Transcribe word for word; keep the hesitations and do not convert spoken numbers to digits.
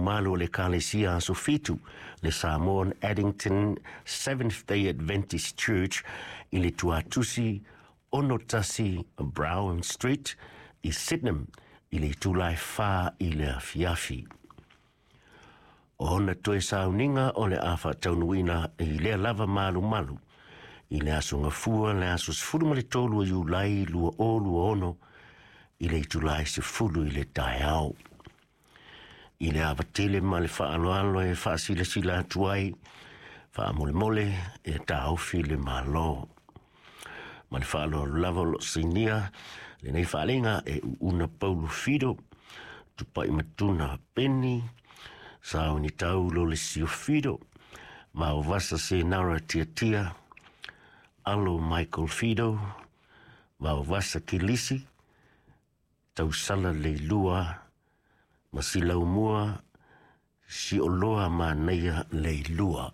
malumalu o le Ekalesia Aso Fitu, le Samoan Addington Seventh Day Adventist Church i le tuatusi ono tasi Brown Street i Sydenham i le itula e fa i le afiafi. O ona toe sauniga o le a faataunuuina i lea lava malumalu i le aso Gafua le aso sefulu ma le tolu o Iulai lua o lua ono i le itula e sefulu i le taeao. I le ava tele ma le faaaloalo e faasilasila atu ai, faamolemole e taofi le Malo. Ma le faaaloalo lava o lo o sainia lenei faaaliga e Uuna Paulo Fido, Tupai Matuna Peni, Sauni Taulo le Sio Fido, Vaovasa Senara Tiatia, Alo Michael Fido, Vaovasa Kilisi, Tausala Leilua, ma Silaumua, Sioloa Manaia Leilua.